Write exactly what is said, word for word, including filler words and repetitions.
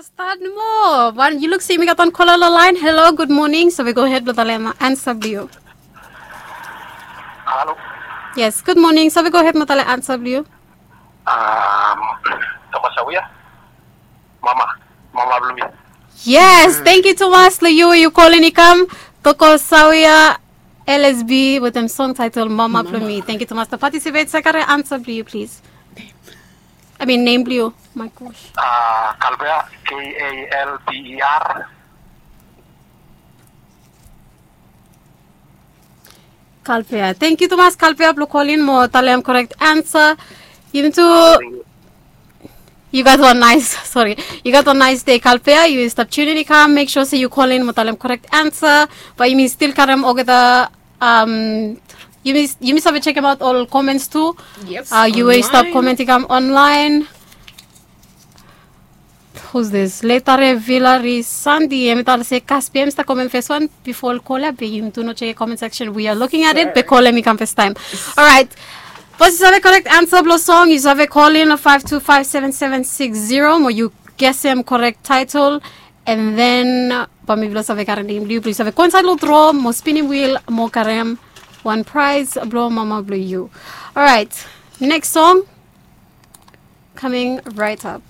Stat nomo. Wan, yu luk se yumi gat wan kola lo laen. Hello, gud moning. Save gohed blo talem ansa blo yu. Halo. Yes, gud moning. Save gohed mo talem ansa blo yu. Um, Thomas Sawia. Mama. Mama blo mi. Yes, thank you Thomas lo yu, yu kolin i kam. Toko Sawia, L S B wetem song title Mama blo mi. Thank you Thomas. To participate, save karem ansa blo yu, please. I mean, nem blo yu. My gosh. Uh, Kalber, K A L B E R. Kalpea. Thank you Thomas Kalpea blo kolin mo talem korek ansa. Yumi tu. Yu gat wan nice, sorry. Yu gat wan nice day Kalpea. Yu stap tunin i kam. Make sure se yu kolin mo talem korek ansa. Bae yumi stil karem olgeta, um, yumi, yumi save chekem aot ol comments tu. Yes. Uh, yu we stap Online. Comment i kam online. Who's this? Letare Villari Sandi. Hem i talem se Kaspi hem i stap comment first one before ol kola, be yumi tu no check comment section. We are looking at it. Be kola hem i kam first time. All right. Bos yu save korek ansa blo song, yu save kolin five two five seven seven six zero mo yu gesem korek title. And then uh, bae mi blo save karem nem blo yu, blo yu save go inside lo draw mo spinning wheel mo karem wan prize blo mama blo yu. All right. Next song coming right up.